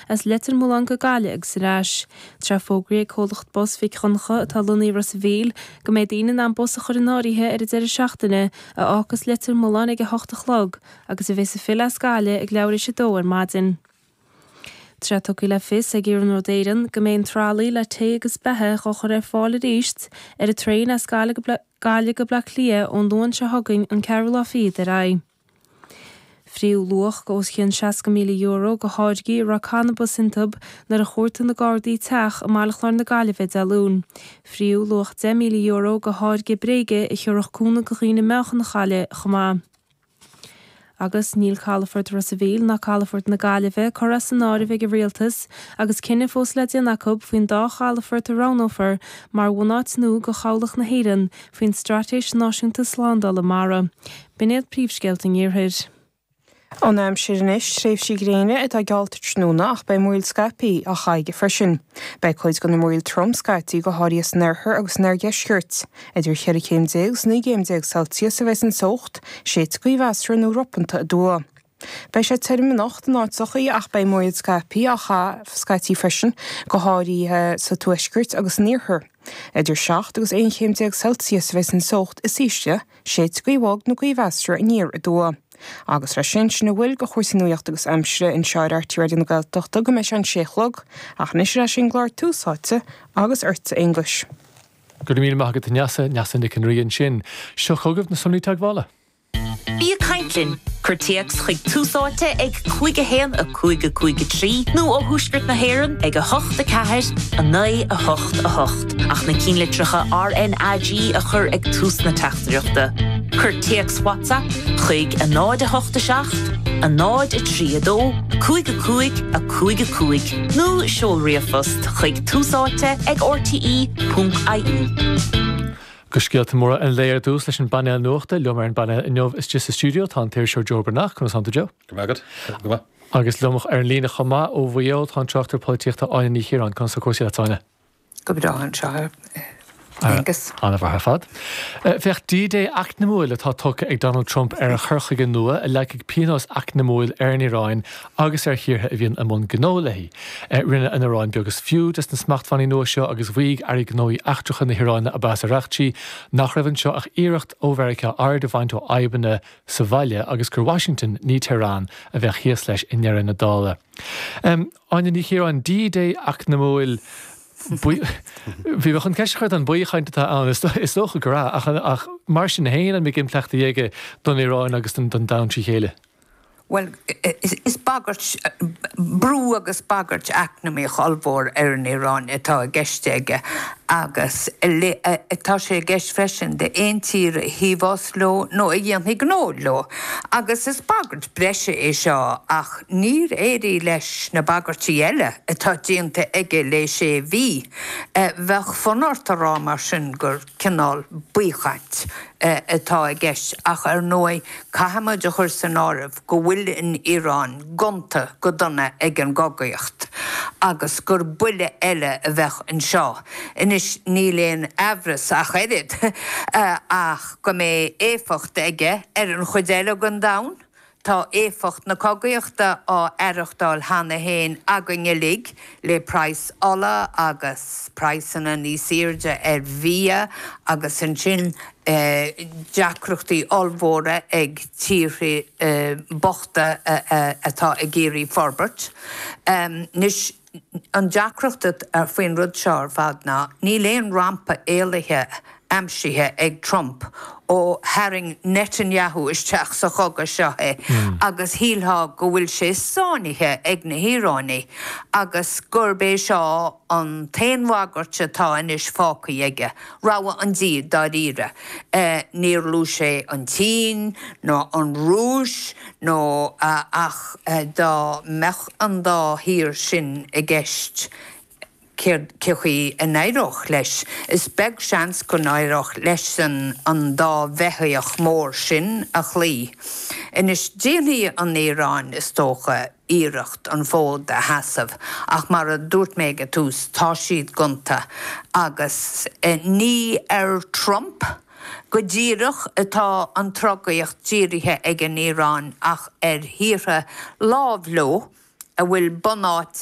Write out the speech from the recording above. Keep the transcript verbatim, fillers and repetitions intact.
as Leitir Mealláin go Gaillimh agus ar ais. Tá fógraithe ag comhlacht bus Mhic Dhonncha atá lonnaithe i Ros an Mhíl go mbeidh daoine in ann bus a chur in áirithe ar an deireadh seachtaine a fhágfas Leitir Mealláin ag a hocht a chlog agus a bheas ag filleadh as Gaillimh ag leathuair tar éis a dó ar maidin. Tá tugtha le fios ag Iarnród Éireann go mbeidh an tralaí le tae agus beatha á chur ar fáil arís ar an traein as Gaillimh go Baile Átha Cliath ón Luan seo chugainn an ceathrú lá fichead ar aghaidh. Fríothadh luach os cionn seasca míle euro de tháirgí a raibh cannabas iontu nuair a chuartaigh na Gardaí teach i mBaile Chláir na Gaillimhe Dé Luain. Fríothadh luach deich míle euro de tháirge bréige a thabharfadh cúnamh do dhaoine meáchan a chailleadh chomh maith. Agus níl Calafort Ros an Mhíl ná Calafort na Gaillimhe curtha as an áireamh ag an rialtas agus cinneadh fós le déanamh acu faoin dá chalafort a roghnófar mar bhunáit nua do chabhlach na hÉireann faoin Straitéis Náisiúnta Slándála Mara. B'in iad príomhscéalta an iarthair. An aimsir anois tréimhsí gréine atá geallta tráthnóna ach beidh múraíl scaipthe á chaitheamh freisin. Beidh cuid de na múraíl trom scaití go háirithe san oirthear agus san oirdheisceart. Idir cheithre chéim déag agus naoi gcéim déag Celsius a bheas an teocht, séidfidh gaoth mheasartha nó ropanta aduaidh. Beidh sé tirim anocht in áiteachaí ach beidh múraíl scaipthe á chaitheamh scaití freisin go háirithe sa tuaisceart agus san iarthar. Idir seacht agus aon chéim déag Celsius a bheas an teocht is ísle, séidfidh gaoth bhog nó gaoth mheasartha aniar aduaidh. Agus leis sin sin a bhfuil de chúrsaí nuachta agus aimsire anseo ar R T Raidió na Gaeltachta go mbeidh sé an sé chlog, ach anois leis an gclár Tús Áite agus ortsa Aonghus. Go raibh míle maith agat Neasa Neasa Nic an Rí ansin. Seo chugaibh na sonraí teagmhála. Bí ag caint linn, cuir téacs chuig Tús Áite ag cúig a haon a cúig a cúig a trí nó ó thuaisceart na hÉireann ag a hocht a ceathair a naoi a hocht a hocht ach na cinnlitreacha R N A G a chur ag tús na teachtaireachta. Cuir téacs WhatsApp chuig a náid a hocht a seacht, a náid a trí a dó, cúig a cúig a cúig a cúig nó seol ríomhphost chuig túsáite ag R T E ponc I E. Go scéalta móra an lae ar dtús leis an bpainéal nuachta liom ar an bpainéal inniu istigh sa stiúideo tá an t-iriseoir Joe Breathnach conas tánn tú Joe. Go maith go maith. Agus liom ar an líne chomh maith ó Mhaigh Eo tá an tráchtaire polaitíochta Áine Ní Chiaráin conas tá cúrsaí leat Áine. Go breá anseo Aonghus. An-mhaith ar fad. Féach D-Day eacnamúil atá tugtha ag Donald Trump ar a chur chuige nua a leagfaidh pionós eacnamúil ar an Iaráin agus ar thíortha a bhíonn i mbun gnó léi. Rinne an Iaráin beag is fiú des na smachtbhannaí nua seo agus mhaígh airí gnóthaí eachtracha na hIaráine Abbas Araghchi nach raibh anseo ach iarracht ó Mheiriceá aird a bhaint ó fhadhbanna sa bhaile agus gur Washington ní Tehran a bheadh thíos leis i ndeireadh na dála. Um, Áine Ní Chiaráin D-Day eacnamúil Bhí chun ceist a chur an baothchaint atá ann is dócha go ach ach mar sin féin an mbeidh impleachtaí aige don Iaráin agus don don domhan trí chéile. Well, is, is bagairt brú agus bagairt eacnamaíoch ollmhór ar an Iaráin atá i gceist aige agus tá sé i gceist freisin d'aon tír a thaobhós leo nó a dhéanfaidh gnó leo. Agus is bagairt breise é seo ach níor éirigh leis na bagairtí eile atá déanta aige le sé mhí. Bheadh fonn ort a rá mar sin gur cineál baothchaint atá i gceist ach ar ndóigh caithfimid a chur san áireamh go bhfuil an Iaráin gonta go dona ag an gcogaíocht agus gur buille eile a bheadh anseo. Anois níl aon amhras ach oiread ach go mbeidh éifeacht aige ar an chuid eile den domhan. Tá éifeacht na cogaíochta á aireachtáil cheana féin againn uilig le praghas ola agus praghsanna níos airde ar bhia agus ansin deacrachtaí ollmhóra ag tíortha bochta atá ag iarraidh forbairt. Anois an deacracht faoin rud seo ar fad ná níl aon rampa éalaithe aimsithe ag Trump ó tharraing Netanyahu isteach sa chogadh seo é agus shílfeá go bhfuil sé sáinnithe ag na hIaránaigh agus gurb é seo an t-aon bhagairt atá anois fágtha aige, rogha an Dia dáiríre. Níor luaigh sé an tSín nó an Rúis nó ach dá mbeadh an dá thír sin i gceist cé chaoi a n-éireodh leis. Is beag seans go n-éireodh leis an an dá bheithíoch mór sin a chloí. Anois déanfaidh an Iaráin is dócha iarracht an fód a sheasamh ach mar a dúirt mé ag an tús tá siad gonta agus ní ar Trump go díreach atá an trogaíocht dírithe ag an Iaráin ach ar thíortha láimh leo a bhfuil bunáit